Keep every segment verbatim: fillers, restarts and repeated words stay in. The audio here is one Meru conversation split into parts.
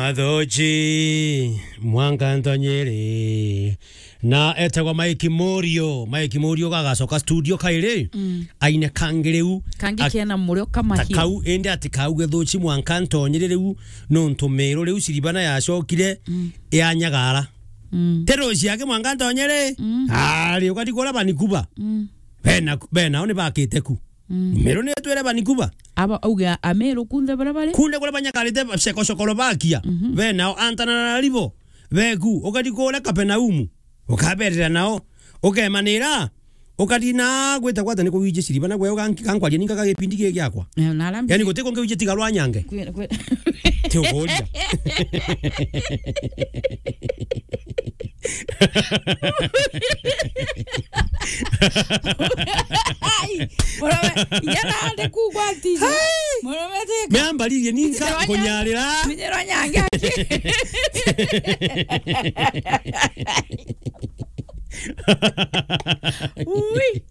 Athoji, mwanka ntonyere. Na etagwa Mike Morio. Mike Morio gagacoka studio kairi. Mm. Aine kangi riu. Kangi ak-, kena murio kama ta hiyo. Kau, indi ati kau gethuchi mwanka ntonyere riu, nontu Meru riu Siribana yacokire, mm, yanyagara. Mm. Teroci yake mwanka ntonyere. Mm. Ari, ukati kura Vancouver. Mm. Bena, bena, oni bakite ku. Mm. Meru ni twere Vancouver. Aba auge Ameru kunthe bara bari? Kunde kura banyakarite ceko Cekosokolovakia. Mhm. Be nao Antananarivo. Beku, ukati kura Kapernaumu. Ukaberera nao. Ukemanira. Ukati na gwita gwata ni kuwije Siribana gwe uganki-, gankwaria ninka ga gipindi giki giakwa. Eh, na arambi- Yani guti kungi wije tiga rwa nyange. Kwi-, kwi-, ti ukuria. Ai, murome, inya nandi kugwa tiji. Hai! Murome tika. Meambaririe ninka kunyarira. Minyero nyange. Ui.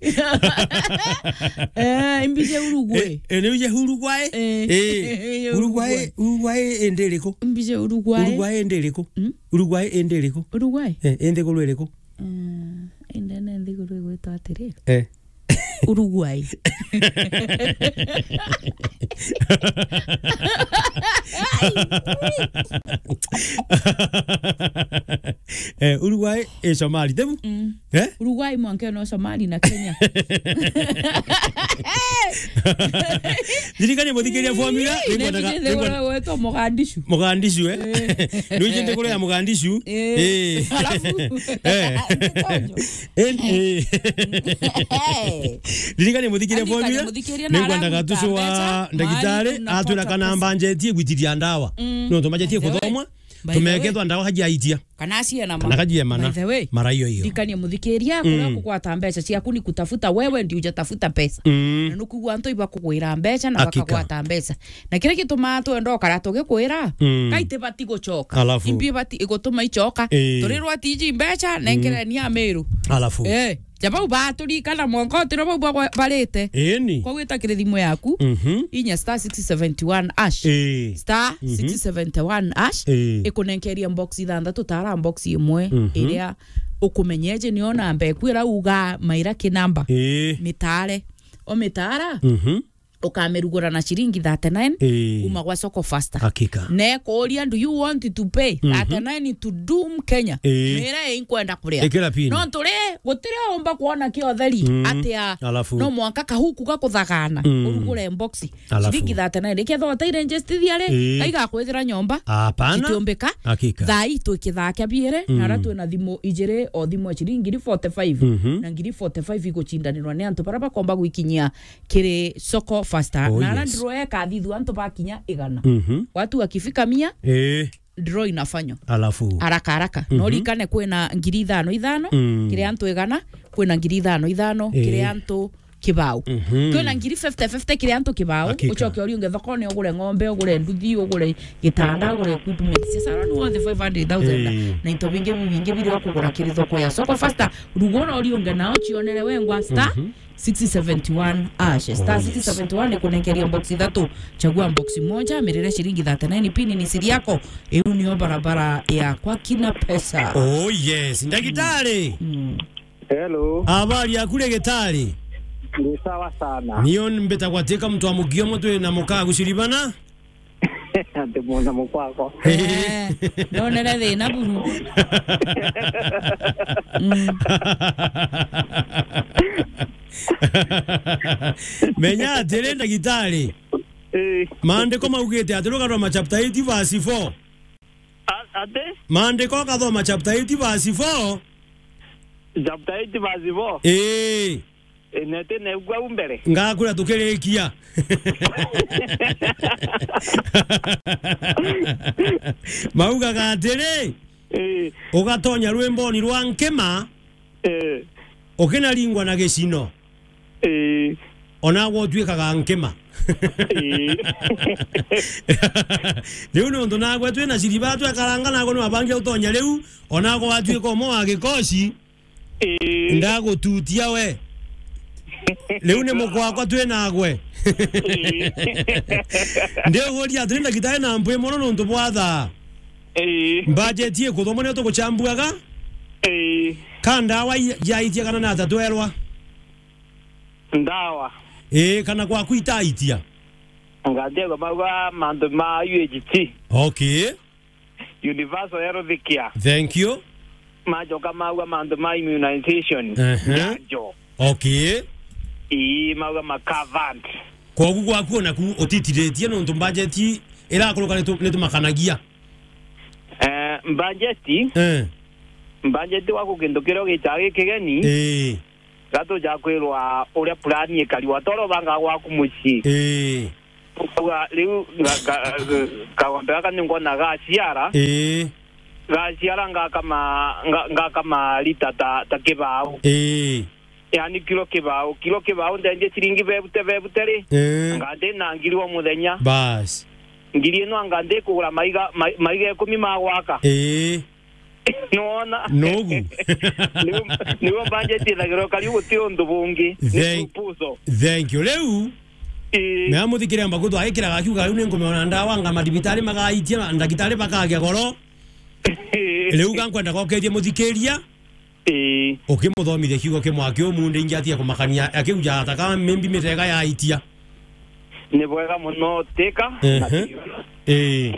Eh, imbije Uruguay. Eh, eh, ni uje Uruguay? Eh. Eh. Uruguay, Uruguay. Uruguay indi iriku? Imbije Uruguay. Uruguay indi iriku? Mm? Uruguay indi iriku? Uruguay? Eh, indi guru iriku? Eh, indi ne nthiguru igwitwa atiri? Eh. Uruguay. Eh, Uruguay, eh, Somali, tebu? Mm. Eh? Uruguay mwanka no Somali na Kenya. Ndirikania muthikiria formula, ii, ningwendaga, ningwendaga gwetwa Mogadishu. Mogadishu, eh? Eh. Nuje nthiguru ya Mogadishu. Eh. Eh. Alafu, eh. Eh, eh. Ndirikania muthikiria formula, ningwendaga tucu wa ndagitari, atwira kana mbanjetie gwitiria ndawa. Mm. Nontu mbanjetie kuthomwa, tumekethwa ndawa kajiaitia. Kana aciena ma. Kana kajiemana. By the way, mara iyo iyo. Ndikanie muthikiria, kuria kugwata mbeca ciaku ni kutafuta wewe ndio hujatafuta pesa. Mm. Na nukugua antu iba kugwira mbeca na bakagwata mbeca. Na kiria gitumaa twenda ukara tugikwira, mm, kai tibati gucoka. Alafu. Imbi ibati igutuma icoka. Ii. Turirwa tiji mbeca, nenkereni Ameru. Alafu. Eh. Ja bau baturikana mwanka utiro bau bagwa-, barite. Ĩni. Kwa gwita kiri thimu yaku, mhm, inya star six seventy one hash. Ĩĩ. Star six seventy one hash. Ĩĩ. Ikunenkeria box ithanthatu, tara box imwe, mhm, iria ukumenyeje niyo namba eku ira uga maira ki namba. Ĩĩ. Mitare. O mitara, mhm, ukamirugura na ciringi thirty nine, ii, kuma gwa Soko Faster. Hakika. Na ikuuria, "Do you want to pay, mhm, thirty nine to Doom Kenya?" Ii. Mira, "Ii, nkwenda kuria." Ikira pin. No turi, gutiri umba kuona kiotheri, mm, atia. Alafu. No mwanka kahuku gakuthagana, mm, urugure box. Alafu. Ciringi thirty nine. Ikethwa utairegister ri, ii, kaiga kwithira nyomba. Hapana. Gitiumbika. Hakika. Thaa ii twi kithaa kia biiri, mm, na ara twina thimu ijiri, o thimu ya ciringi ngiri forty five, mhm, na ngiri forty five igucindanirwa ni antu bara bakomba gwikinyia kiri Soko Faster. Oh, na ara, yes, ndiro ekathithua antu bakinya igana. Mhm. Watu wakifika mia, eh, draw inafanywa. Alafu. Haraka haraka. Mhm. No rikane kwina ngiri ithano ithano, mm, kiri antu igana, kwina ngiri ithano ithano, eh, kiri antu kibao. Mhm. Kwina ngiri fifty fifty kiri antu kibao. Hakika. Ucoke uri unge thokone, ugure ng'ombe, ugure nduthi, ugure gitanda, ugure equipment cia salon, worth five hundred thousand. Eh. Na into bingi bibingi biri kugura kiri thoko ya Soko Faster. Rugura uri unge nao cionere wengwa star, mhm, six seventy one hash. Star, oh, yes, six seventy one ikunenkeria box ithatu. Chagua box moja, mirire ciringi thirty nine, pin ni siri yako. Iu niyo barabara ya kwa kina pesa. Oh, yes. Ndagitari. Mm. Hello. Habari yaku, ndagitari? Ni sawa sana. Niyo mbitagwa Teka, mtu wa mukio mutwe na mukaa guciribana. Ati mwana mukwako. Eh, ndonere thina buru. Mm. Menya atiri, ndagitari. Eh. Maandiko maugite atiri, ukathoma chapter eight verse four. A-, ati? Maandiko, ukathoma chapter eight verse four. Chapter eight verse four. Eh. Ii, nete negua u mbere. Ngakwira tukirikia. Maugaga atiri, ii, ugatonya rwimboni rwa nkima, ii, ukinaringwa na gicino. Ii. Onagwe utuikaga nkima. Ii. Riu nontu nagwe twina ciriba twekaranga, nagwe niwabangia utonya riu, onagwe watuika umwe wa gikoci. Ii. Ndagututia we. Riu ni mukwakwa twi nagwe. Ii. Ndiuguria atiri, ndagitari, na mpwi mono nontu bwa thaa. Ii. Budget ikuthomwa nio tuguchambuaga. Ii. Ka ndawa i-, yaitia kana nata twerwa? Ndawa. Ii, kana gwaku itaitia? Ngathie mauga mantu ma U H C. Okay. Universal Health Care. Thank you. Majoka mauga mantu ma immunization. Ehe. Njanjo. Okay. Ii, mauga ma covered. Kogu gwaku onaku utitiritie nontu mbajeti irakuruka nitu-, nitumakanagia. Eh, mbajeti? Eh. Mbajeti gwaku kintu kiria ugitaa gikigeni. Ii. Gatuja kwirwa uria purani ikari, watoro banga gwaku mucii. Ii. Ukauga, "Riu nga-, nga-, kagombe gaka ni ngona gaciara." Ii. Gaciara ngakama, nga-, ngakama rita ta, ta kibau. Ii. Yani kilo kibau, kilo kibau ndendie ciringi bebute, bebute ri? Ii. Anga ndi na ngiri o muthenya. Bas. Ngiri ino anga ndi kugura maiga, mai-, maiga ikumi ma gwaka. Ii. Nwona? Nogu. Niu, niu budget ithagirwo kariu guti undu bungi. Ni thank, proposal. Thank you. Riu, ii, na muthikiria mbagu twagikiraga akiuga, "Riu ni nkumeona ndawa anga madibitari magaitia, na ndagitari bakagia goro." Riu ga nkwenda gokerie muthikiria. Ii. Ukimuthomithia kiugo kimwe akiumunde ingi atia kumakania, akiuja ataka mimbi mitega yaitia. Ni bwega muno Tika. Ehe. Ii.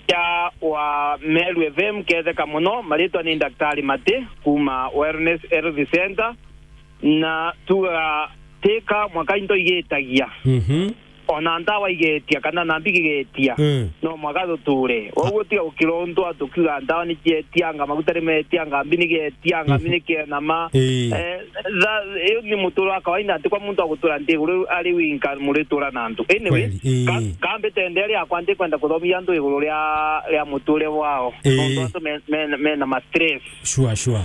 Ya wa Meru F M ketheka muno, maritwa ni Daktari Mati kuma Wellness Health Center, na tuga Tika mwaka into igitagia. Mhm. Ona ndawa igetia kana nambi gigetia. Mm. No mwaga tuture. Oguo tiga gukira untu atukiuga ndawa ni cietianga, maguta ni metianga, mbi ni getianga, mbi ni kienama. Ii. Eh, tha-, iyo ni muture wa kawaida, nti kwa muntu agutura nthi iguru ari winka muritura na antu. Anyway, kweli, ii, ka-, kambi tende ria kwa nti kwenda kuthomithia antu iguru ria, ria muture wao. Ii. Nontu antu me-, me-, mena ma stress. Sure, sure.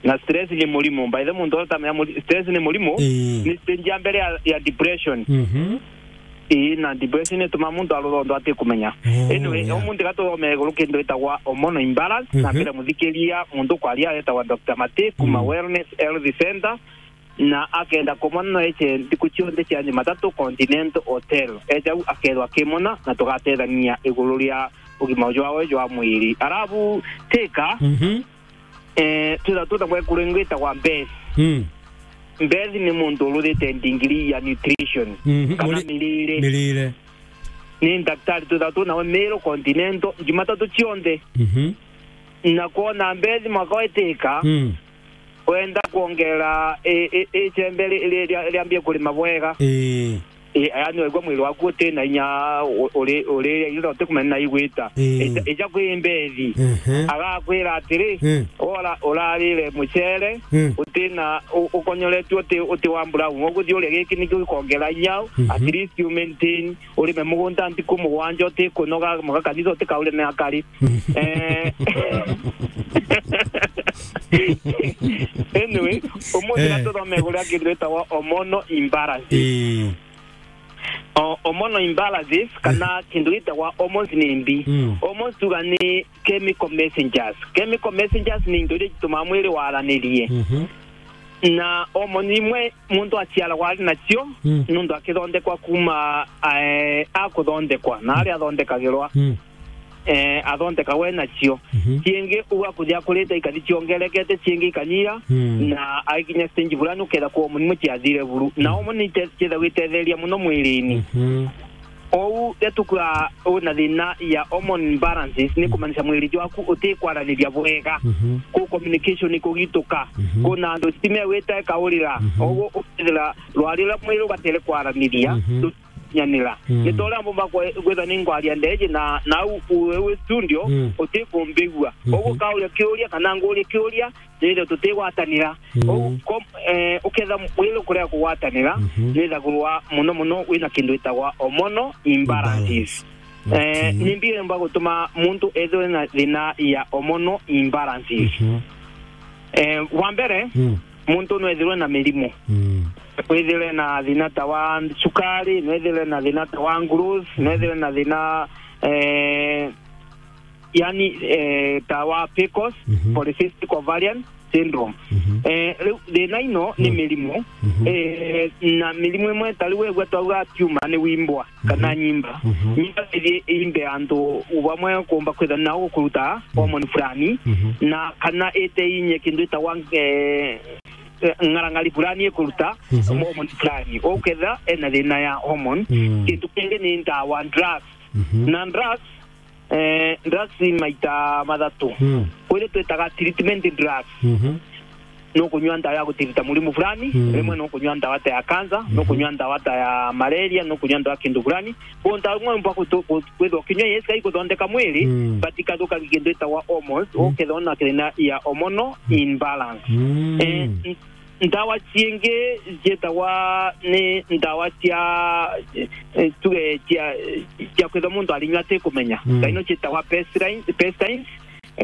Na stress ni murimu. By the way, muntu uria utamenya muri-, stress ni murimu, ii, ni stage ya mbere ya, ya depression. Mhm. Ii, na depression ituma muntu arutha untu atikumenya. Oh, anyway, yeah. Umunthi gatuthome iguru kintu itagwa hormonal imbalance, na, mhm, mbere muthikiria muntu kwaria etagwa Doctor Mati kuma, mm, Wellness Health Center, na akenda kumona no eche nthiku cionthe cia Jumatatu Continental Hotel. Eja u akethwa akimona na tugatethania iguru ria ugima jwawe jwa mwiri. Arabu Tika, mhm, eh, twitha twina mwekuru ingi witagwa Beth. Mm. Beth ni muntu uruthite ndigiri ya nutrition, mhm, kana muri-, mirire. Mirire. Ni ndaktari twitha twinawe Meru Continental Jumatatu cionthe. Mhm. Na kwona Beth mwaka wa Tika, mm, wenda kwongera i-, i-, icembe ri-, ri-, ria-, riambie kurima bwega. Ii. Ii, yani waigua mwiri waku uti na inya u-, uri, uri, ira utikumenya na igwita. Ii. Ija, ija kwi Mbethi. Ehe. Agakwira atiri, ii, ora, urarire mucere, ii, uti na, u-, ukonyoretue uti, uti wa brown. Uguthii uria giki nikio gikongera inya, mhm, at least you maintain, urime mugunda ntiku mugwanja utikunoga, muga kanitha utikaurime akari. Eh. Anyway, umunthi, eh, na tuthome iguru ria kintu gitagwa hormonal imbalances. Ii. O-, hormonal imbalances, kana, eh, kintu gitagwa hormones ni mbi. Mm. Hormones tuga ni chemical messengers. Chemical messengers ni into iria itumaa mwiri waranirie. Mhm. Na hormone imwe muntu aciaragwa ari nacio, mm, nontu akithondekwa kuma, eh, akuthondekwa, na aria athondekagirwa, mm, eh, athondekagwa e nacio. Mhm. Ciingi uu akuthia akurite ikathi ciongerekete, ciingi ikanyia, mm, na aikinya stage fulani ukethira kwa hormone imwe ciathire buru. Na, mm, hormone ite-, ciithagwa itetheria muno mwirini. Mhm. Ou, riria tukwaa wina thina ya hormone imbalances, ni, mm, kumaanisha mwiri jwaku utikwaraniria bwega. Mhm. Ku communication ikugituka. Mhm. Kuna antu stima igwita ikaurira. Mhm. Oguo ukethira rwari ruria mwiri ubatere kwaraniria, mhm, rutinyanira. Mm. Ni ta uria mbumba kwe-, kwithwa ni ngwaria ndeji na, na au u-, wi studio, mm, utikumbigua. Mhm. Oguo ukauria kiuria kana ngurie kiuria, nithe tutigwatanira. Mm. Ou kom-, eh, uketha mwiri ukurega kugwatanira, mhm, nithagirwa muno muno wina kintu gitagwa hormonal imbalances. Imbalance. Eh, okay. Ni mbi iremba gutuma muntu ethirwe na thina ya hormonal imbalances. Mhm. Eh, wa mbere, mm, muntu no ethirwe na mirimu. Mm. No ethirwe na thina ta wa cukari, no ethirwe na thina ta wa growth, no, mhm, ethirwe na thina, eh, yani, eh, ta wa P C O S, mhm, polycystic ovarian, syndrome. Mhm. Eh, riu thina ino ni Mm. mirimu. Mhm. Eh, na mirimu imwe ta riu wegua twauga tumor ni wimbwa kana Mhm. nyimba. Mhm. Nyimba ithi imbe antu bamwe kumba kwitha na gukuruta Mhm. hormone fulani, Mhm. na kana ite inye kindu itagwa, eh, eh, ngarangari fulani ikuruta Mhm. hormone fulani. Uketha ena thina ya hormone. Mm. Kindu kingi ni ndawa, drugs. Mhm. Na drugs, eh, drugs maita mathatu. Mm. Kwiri twitaga treatment drugs. Mhm. Nukunyua ndawa ya gutirita murimu fulani, Mm. rimwe nukunyua ndawa ta ya cancer, Mhm. nukunyua ndawa ta ya malaria, nukunyua ndawa kindu fulani. Kwou ndawa imwe mbwa kutu-, ku-, kwithwa kinyua yesi iguthondeka mwiri, Mm. but ikathukagia kindu itagwa hormones, Mm. ukethwa na thina ya hormonal Mm. imbalance. Mm. Eh, n-, ndawa ciingi ciitagwa ni ndawa cia, eh, tuge cia, cia kwithwa muntu arinyua atikumenya. Mm. Ndaino ciitagwa pestine-, pestines,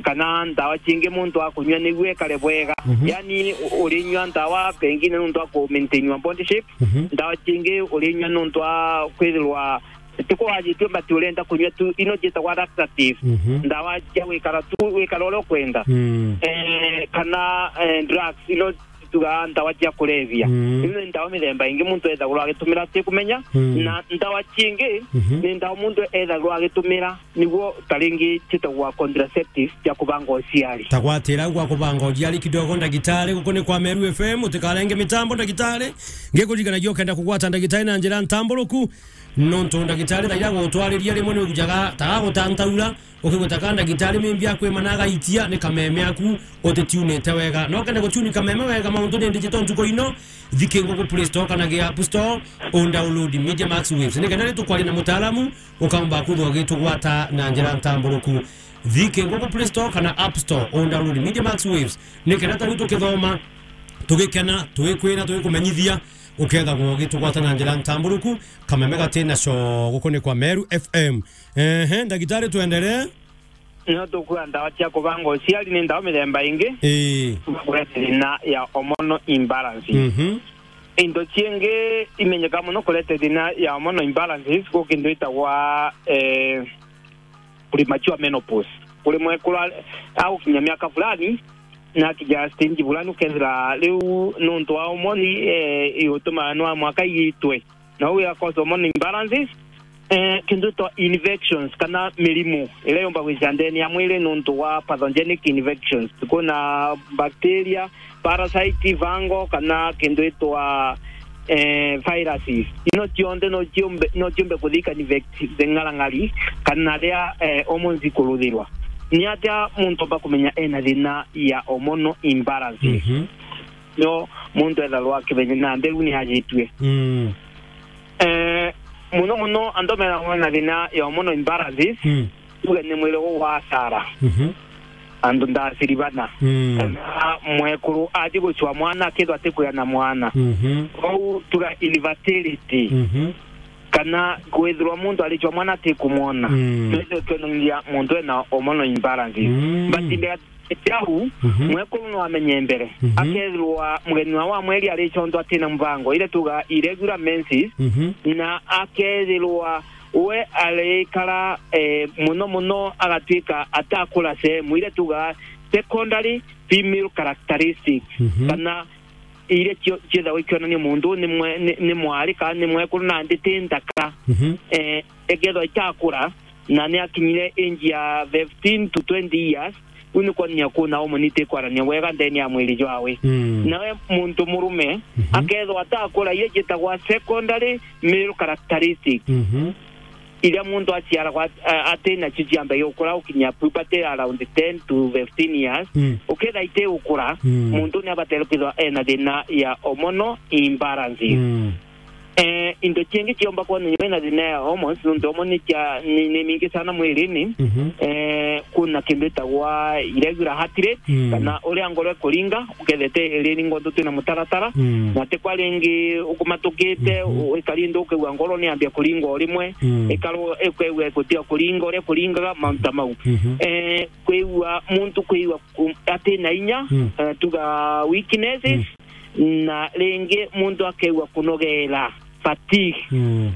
kana ndawa ciingi muntu akunyua niguo ekare bwega. Mhm. Yani, u-, urinyua ndawa pengine nuntu wa ku maintain your body shape. Mhm. Ndawa ciingi urinyua nuntu wa kwithirwa ti kwajitue, but urenda kunyua tu, ino ciitagwa laxative. Mhm. Ndawa cia gwikara tu, wikara uria ukwenda. Mm. Eh, kana, eh, drugs, ino tugaa ndawa cia kulevya. Mm. Ino ni ndawa mithemba ingi muntu ethagirwa agitumira atikumenya. Mm. Na ndawa ciingi Mhm. ni ndawa muntu ethagirwa agitumira niguo ta ringi ciitagwa contraceptive cia kubanga uciari. Ta gwatira gwa kubanga uciari kidogo, ndagitari, guku ni kwa Meru F M, utikarenge mitambo, ndagitari. Ngikuririkanagia ukenda kugwata ndagitari na njira ntamburuku, nontu ndagitari thaira gutwariria rimwe ni ujaga, ta gutantaura, ukigweta ka ndagitari mimbi akwimana agaitia ni kameme aku utitiunite wega. No kenda gutiuni kameme wega mauntu ni digital ntuku ino, thiki nguku Play Store kana gi App Store, undownload Media Max Waves. Ni kenda ritukwaria na mutaalamu, ukamba kwithwa ugitugwata na njira ntamburuku. Thiki nguku Play Store kana App Store, undownload Media Max Waves. Ni kenda ta riu tukithoma, tugikena, tugikwira, tugikumenyithia, ukethagwa ugitugwata na njira ntamburuku, kameme gatina co guku ni kwa Meru F M. Ehe, ndagitari, twenderee. No tukwira ndawa cia kubanga uciari ni ndawa mithemba ingi. Ii. Kureta thina ya hormonal imbalance. Mhm. Indo ciingi imenyeka muno kureta thina ya hormonal imbalances, ku kindu itagwa, eh, premature menopause. Kuri mwekuru a-, agukinya miaka fulani, na akinya stage fulani, ukethira riu nuntu wa hormone, eh, igutuma nwa mwaka igitwe. Na uu ya cause hormone imbalances, eh, kindu itwa infections kana mirimu iria yumba gwicira ndene ya mwiri nuntu wa pathogenic infections. Kuna bacteria, parasite, fungal, kana kindu itwa, eh, viruses. Ino cionthe no ciumbe, no ciumbe kuthika infect the ngarang'ari kana ria, eh, hormones ikuruthirwa. Ni atia muntu omba kumenya ena thina ya hormonal imbalances? Mhm. Nio muntu etharwa akimenya na mbeu ni ajitue. Mm. Eh, muno muno antu mena, mena thina ya hormonal imbalances, Mm. tuge ni mwiri gugwasara. Mhm. Antu ndaciri bana. Mm. Kana mwekuru athi gucua mwana akethwa atikwia na mwana. Mhm. Kwou tuga infertility. Mhm. Kana kwithirwa muntu aricua mwana atikumwona. Mm. Twithwe twonanagia muntu ena hormonal imbalances. Mm. But Jau, Mhm. mwekuru no amenye mbere. Mhm. Akethirwa mugeni wa, wa mweri aricontwa atina mubango, iria tuga irregular menses, Mhm. na akethirwa we arikara, eh, muno muno agatwika atakura sehemu, iria tuga secondary female characteristics, Mhm. kana iria cio-, ciethagwa ikionania muntu ni mwe-, ni, ni mwari kana ni mwekuru nandi ti nthaka. Mhm. Eh, ekethwa itakura, na ni akinyire age ya fifteen to twenty years, u ni kwonania kuna hormone itikwarania wega ndene ya mwiri jwawe. Mm. Nawe muntu murume, Mhm. akethwa atakura, iria cietagwa secondary male characteristics. Mhm. Iria muntu aciaragwa at-, a-, atinacio ciambagia gukura gukinya puberty around ten to fifteen years. Mm. Ukethira iti gukura, Mm. muntu ni abatere kwithirwa ena thina ya hormonal imbalances. Mm. Eh, into ciingi ciomba kwonania wina thina ya hormones, nontu hormone ni cia, ni, ni mingi sana mwirini. Mhm. Eh, kuna kindu itagwa irregular heart rate, Mm. kana uria ngoro ikuringa, ukethete iringa untu twina mutaratara, Mm. na ti kwa ringi ukumatukite, Mhm. u-, ikari ndu ukaigua ngoro ni yambia kuringa o rimwe, Mm. ikaru-, ukaigua gutiga kuringa uria ikuringaga, mauntu ta mau. Mhm. Eh, kwigua muntu kwigua ku-, atina inya, Mm. eh, tuga weaknesses, Mm. na ringi muntu akaigua kunogera, fatigue. Mm.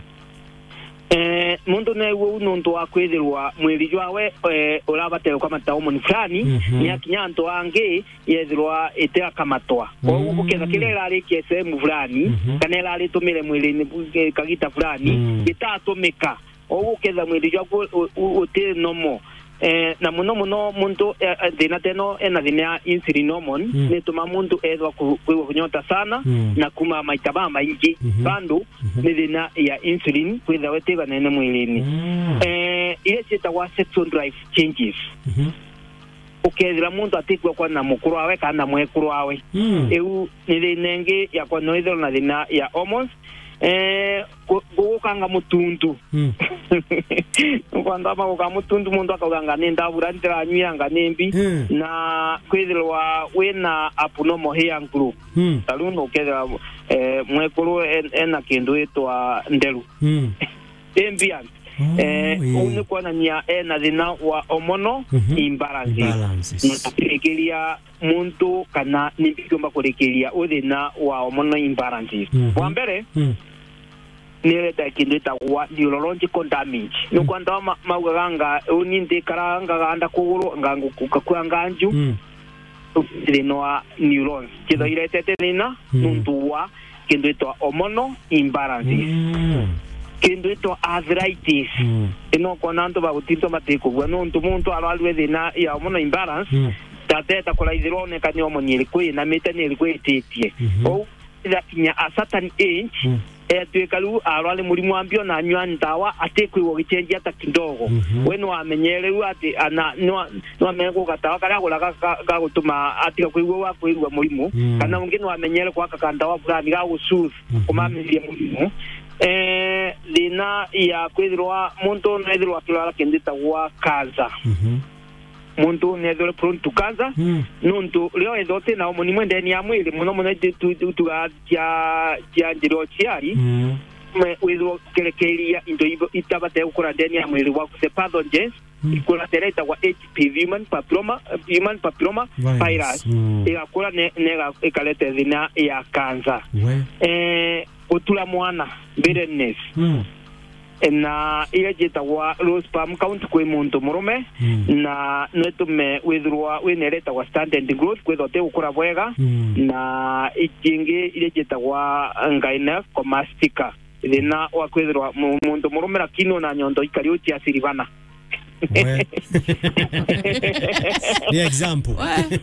Eh, muntu neegue uu nuntu wa kwithirwa mwiri jwawe, eh, urabaterwa kamata hormone fulani, Mhm. ni akinya antu angi yethirwa itirakamatwa. Kwou Mm. uketha kiria irari kia sehemu fulani, Mhm. kana irari tumire mwiri-ini bu-, eh, kagita fulani, Mm. gitatumika. Kwou uketha mwiri jwaku u-, u-, uti normal. Eh, na muno muno muntu, eh, eh, thina teno ena thina ya insulin hormone, Mm. nituma muntu ethwa ku-, kwigua kunyota sana, Mm. na kuma maita mamaingi. Mhm. Bandu Mhm. ni thina ya insulin kwithirwa itiganene mwiri-ini. Mm. Eh, iria ciitagwa sexual drive changes. Mhm. Ukethira muntu atikwigua kwana na mukuru wawe kana na mwekuru wawe. Mm. Iu ni thina ingi ya kwana withirwa na thina ya hormones. Eh, ku-, kugukanga mutuntu. Mm. Kwanza ama guka mutuntu, muntu akauga, "Anga ni ndabura ndiranyua, anga ni mbi." Mm. Na kwithirwa wina abnormal hair growth. Mm. Ta riu nukethira, eh, mwekuru en-, ena kindu itwa nderu. Mm. Imbiance. Oh, Eh, ii. Uu ni kwonania ena thina wa hormonal Mhm. imbalances. Imbalances. Na kurikiria muntu kana ni mbi kiumba kurikiria u thina wa hormonal imbalances. Mhm. Wa mbere, Mm. ni ireta kindu itagwa neurological damage. Mm. Nukwenda ma-, maugaga anga uni ndikara ngaganda kuguru, anga ngu-, ngakua nganju. Mm. Thina wa neurons. Kithwa iretete thina Mm. nuntu wa kindu itwa hormonal imbalances. Mm. Kindu itwa arthritis. Mm. Ino kona antu bagutintwa matikugua nuntu muntu arwarue thina ya hormonal imbalance, Mm. tateta kuraithirwa oneka ni hormone iriku inamite ni iriku ititie. Mhm. Kwou ithakinya a certain age, Mm. etwika riu arwari murimu wa mbio na anyua ndawa atikwigua ugicenjia hata kidogo. Mhm. We nwamenyere riu ati ana nwa-, nwamenye kuga ndawa karia aguraga ga-, ga-, gagutuma atiga kwigua wa kwirua murimu, Mm. kana ungi nwamenyere gwaka kandawa fulani ga gusoothe Mhm. kumamiria murimu. Eh, thina ya kwithirwa muntu nethirwa akirwara kindu itagwa cancer. Mhm. Muntu nethirwe prone to cancer, Mm. nuntu rio ethirwa uti na hormone imwe ndeni ya mwiri, muno muno itu-, tu-, tu-, tuga cia, cia njira uciari, Mm. me-, withirwa ukirekeria into ibo-, itabate gukura ndeni ya mwiri waku, the pathogens, Mm. ikura tera itagwa H P V, human papilloma, human papilloma Virus. virus, Mm. igakura ne-, nega-, ikarete thina ya cancer. We. Eh, gutura mwana, barrenness. Mm. Na iria ciitagwa low sperm count kwi muntu murume, Mm. na no itume withirwa wina iria itagwa stunted growth, kwithirwa uti gukura bwega, Mm. na icingi iria ciitagwa gynecomastia. Thina wa kwithirwa mu-, muntu murume lakini una nyondo ikari uciaciri bana. We. Ni example. We.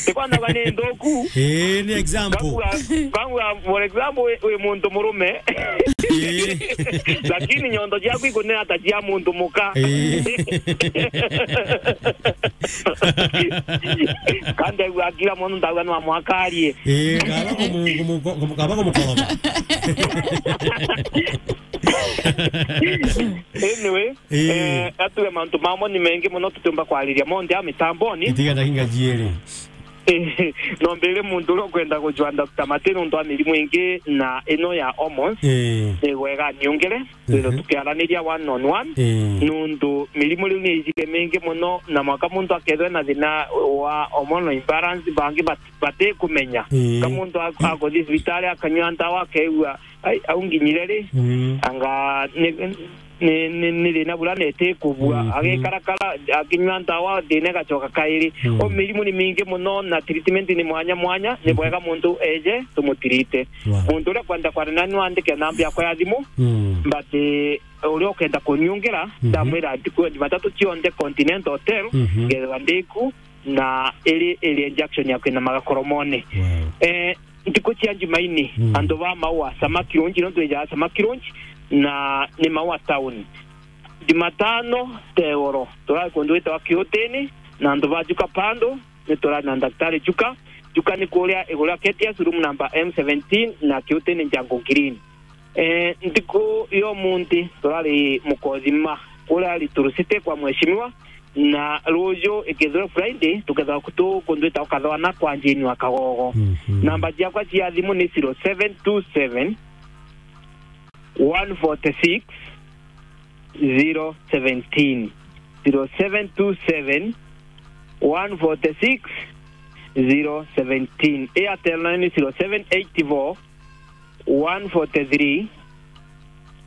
Ti kwanaga ni nthuku. Eh, ni example. Kangua, kangua, for example, wi, wi muntu murume. Eh. Lakini nyondo ciaku ikunena ta cia muntu muka. Eh. Kandi aigua akira mono ndauga no amwakarie. Eh, kaba kumu-, kumu-, kumu-, kaba kumukoroba. Anyway, Ii. Eh, atuge mantu mamwe ni mengi mono tutiumba kwariria monthe a mitamboni. Itiga ndagika jiiri. Eh, no mbire muntu uria ukwenda kujua Doctor Mate nontu wa mirimu ingi na ino ya hormones, Ii. ni wega niungire, twithe Mhm. tukiaraniria one on one, Ii. nontu mirimu riu ni ijire mingi mono, na mwaka muntu akethwe na thina wa hormonal imbalance, bangi bat-, batikumenya. Ii. Ka muntu ak-, akuthi cibitari akanyua ndawa, akeigua, "Ai, au nginyire ri?" Mm. Anga ni, ni, ni, ni thina bura neti kubua. Mm, mm. Agikarakara, akinyua ndawa, thina igacoka kairi. Mm. O mirimu ni mingi mono, na treatment ni mwanya mwanya. Ni Mhm. bwega muntu eje, tumutirite. Wow. Muntu uria kwenda kwaria nani, wandike namba yakwa ya thimu. Mm. But, eh, uria ukenda kunyungira, Mhm. ndamwira ntuku ya Jumatatu cionthe Continental Hotel, Mhm. ngethwa ndiku, na iri, iri injection ya kwina magakoromone. Wow. Eh, ntuku cia Jumaine, Mm. antu ba Maua Samaki Lounge, nontu ijaa Samaki Lounge, na ni Maua Town. Jumatano, Tegoro, turari kundu gwitawa Kiutini, na antu ba Juka Pando, ni turari na Daktari Juka. Juka ni kuria iguru ria K T S, room number M seventeen, na Kiutini Njangu Green. Eh, ntuku ya umunthi turari Mukothima, kuria Little City kwa mheshimiwa, na ruju ikethirwa Friday, tukethirwa kutu kundu gwitawa Kathwana kwa Jane wa Kagogo. Mhm. Namba ciakwa cia thimu ni zero seven two seven, one forty six, zero seventeen. Zero seven two seven, one forty six, zero seventeen. Airtel nayo ni zero seven eight four, one forty three,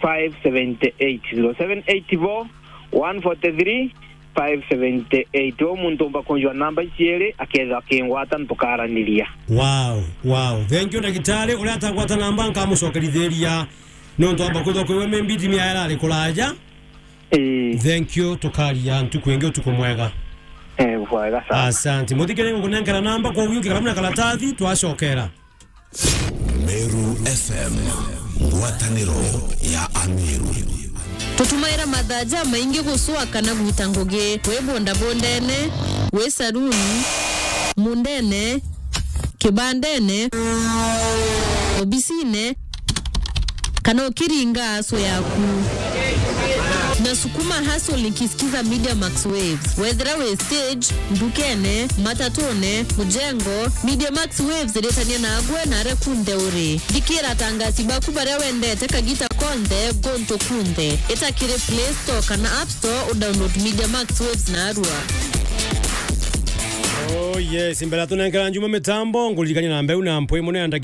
five seventy eight, zero seven eight four, one forty three, five seventy eight. O muntu umba kunjwa namba ici iri, akethirwa akingwata, ntukaraniria. Wow, wow. Thank you, ndagitari. Uria atagwata namba, nkamucokerithiria. Nontu amba kwithwa kwiwe maybe ndimia irari kuraja. Ii. Thank you, tukaria ntuku ingi, utuku mwega. Eh, bwega sana. Asante. Muthikiri ngukunenkera namba, kwa uyu kiramu na karatathi, twacokera. Meru F M, ngwataniro ya Ameru. Tutumaira mathaa jamaingi gucua kana gwita ngugi, wi bondabondene, wi saruni, mundene, kibandene, obisine, kana ukiringa aso yaku. Nasukuma hustle nikisikiza Media Max Waves. Wethira wi stage, ndukene, matatune, mujengo, Media Max Waves iritania nagwe na aria kunthe uri. Thikira atangasi baku baria wendete kagita konthe, gontu kunthe. Ita kiri Play Store kana App Store, udownload Media Max Waves narua. Oh yes, mbere ya tunenkera Njuma mitambo, nguririkania namba iu na mpwi mono ya ndagitari